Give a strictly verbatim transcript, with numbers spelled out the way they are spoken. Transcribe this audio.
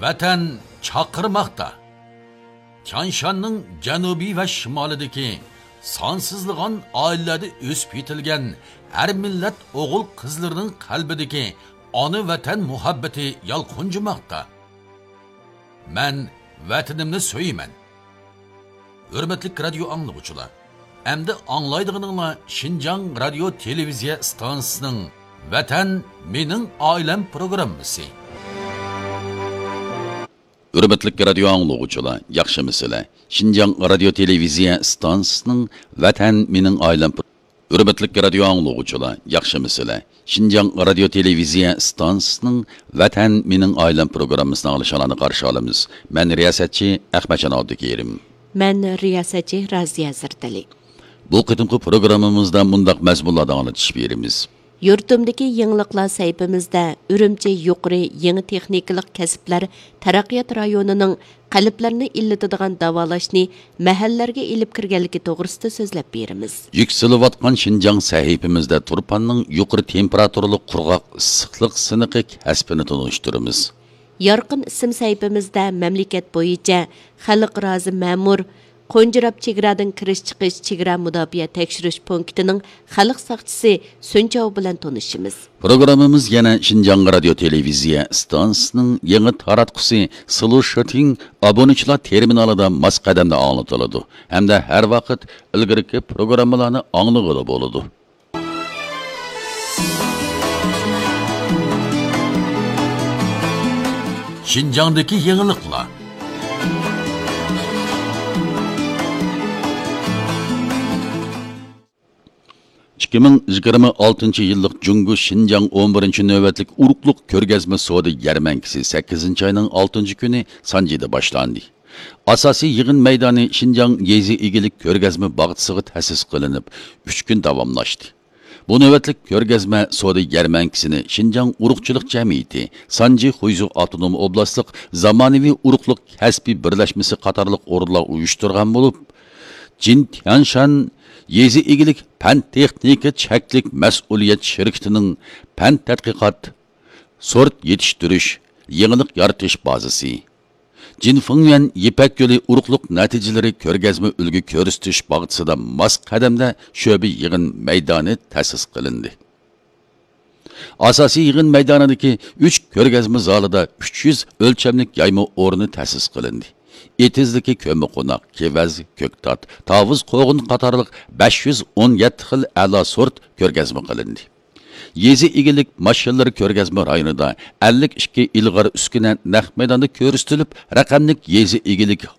ۋەتەن چاقىرماقتا. تيانشاننىڭ جەنۇبى ۋە شىمالىدىكى سانسىزلىغان ئائىلىلەردە ئۆسۈپ يېتىلگەن ھەر مىللەت ئوغۇل-قىزلىرىنىڭ قەلبىدىكى ئانا ۋەتەن مۇھەببىتى يالقۇنجىماقتا. مەن ۋەتىنىمنى سۆيىمەن. ھۆرمەتلىك رادىيو ئاڭلىغۇچىلار، ئەمدى ئاڭلايدىغىنىڭلار شىنجاڭ رادىيو تېلېۋىزىيە ئىستانسىسىنىڭ ۋەتەن مېنىڭ ئائىلەم پروگراممىسى. ھۆرمەتلىك رادىيو ئاڭلىغۇچىلار، ياخشىمۇسىلەر؟ شىنجاڭ رادىيو تېلېۋىزىيە ئىستانسىسىنىڭ ۋەتەن مېنىڭ ئائىلەم پرو-، ھۆرمەتلىك رادىيو ئاڭلىغۇچىلار، ياخشىمۇسىلەر؟ شىنجاڭ رادىيو تېلېۋىزىيە ئىستانسىسىنىڭ ۋەتەن مېنىڭ ئائىلەم پروگراممىسىنى ئاڭلىشىڭلارنى قارشى ئالىمىز. مەن رىياسەتچى ئەخمەتجان ئابدۇكېرىم. مەن رىياسەتچى رازىيە زەردەلى. بۇ قېتىمقى پروگراممىمىزدا مۇنداق مەزمۇنلاردا ئاڭلىتىش بېرىمىز. يۇرتۇمدىكى يېڭىلىقلار سەھىپىمىزدە ئۈرۈمچى يۇقىرى يېڭى تېخنىكىلىق كەسىپلەر تەرەققىيات رايونىنىڭ قەلبلەرنى ئىللىتىدىغان داۋالاشنى مەھەللىلەرگە ئېلىپ كىرگەنلىكى توغرىسىدا سۆزلەپ بېرىمىز. يۈكسىلىۋاتقان شىنجاڭ سەھىپىمىزدە تۇرپاننىڭ يۇقىرى تېمپېراتۇرىلىق قۇرغاق ئىسسىقلىق سىنىقى كەسپىنى تونۇشتۇرىمىز. يارقىن ئىسىم سەھىپىمىزدە مەملىكەت بويىچە خەلق رازى مەمۇر، قونجىراپ چېگرادىن كىرىش-چىقىش چېگرا مۇداپىئە تەكشۈرۈش پونكىتىنىڭ خەلق ساقچىسى سۈنچاۋ بىلەن تونۇشىمىز. پروگراممىمىز يەنە شىنجاڭ رادىيو تېلېۋىزىيە ئىستانسىسىنىڭ يېڭى تاراتقۇسى سلۇشىتىڭ ئابۇنىچىلار تېرمىنالىدا ماس قەدەمدە ئاڭلىتىلىدۇ ھەمدە ھەر ۋاقىت ئىلگىرىكى پروگراممىلارنى ئاڭلىغىلى بولىدۇ. شىنجاڭدىكى يېڭىلىقلار. ئىككى مىڭ يىگىرمە ئالتىنچى يىللىق جۇڭگو شىنجاڭ ئون بىرىنچى نۆۋەتلىك ئۇرۇقلۇق كۆرگەزمە سودا يەرمەنكىسى سەككىزىنچى ئاينىڭ ئالتىنچى كۈنى سانجىدا باشلاندى. ئاساسىي يىغىن مەيدانى شىنجاڭ يېزا ئىگىلىك كۆرگەزمە باغچىسىغا تەسىس قىلىنىپ، ئۈچ كۈن داۋاملاشتى. بۇ نۆۋەتلىك كۆرگەزمە سودا يەرمەنكىسىنى شىنجاڭ ئۇرۇقچىلىق جەمئىيىتى، سانجى خۇيزۇ ئاپتونوم ئوبلاستلىق زامانىۋى ئۇرۇقلۇق كەسپىي بىرلەشمىسى قاتارلىق ئورۇنلار ئۇيۇشتۇرغان بولۇپ، جىن تيانشان يېزا ئىگىلىك پەن تېخنىكا چەكلىك مەسئۇلىيەت شىركىتىنىڭ پەن تەتقىقات، سورت يېتىشتۈرۈش، يېڭىلىق يارىتىش بازىسى، جىن فېڭيۈەن يىپەك يولى ئۇرۇقلۇق نەتىجىلىرى كۆرگەزمە ئۈلگە كۆرسىتىش باغچىسىدا ماس قەدەمدە شۆبە يىغىن مەيدانى تەسىس قىلىندى. ئاساسىي يىغىن مەيدانىدىكى ئۈچ كۆرگەزمە زالىدا ئۈچ يۈز ئۆلچەملىك يايما ئورنى تەسىس قىلىندى. ئېتىزدىكى كۆممىقوناق، كېۋەز، كۆكتات، تاۋۇز قوغۇن قاتارلىق بەش يۈز ئون يەتتە خىل ئەلا سورت كۆرگەزمە قىلىندى. يېزا ئىگىلىك ماشىنىلىرى كۆرگەزمە رايونىدا ئەللىك ئىككى ئىلغار ئۈسكۈنە نەق مەيداندا كۆرسىتىلىپ، رەقەملىك يېزا ئىگىلىك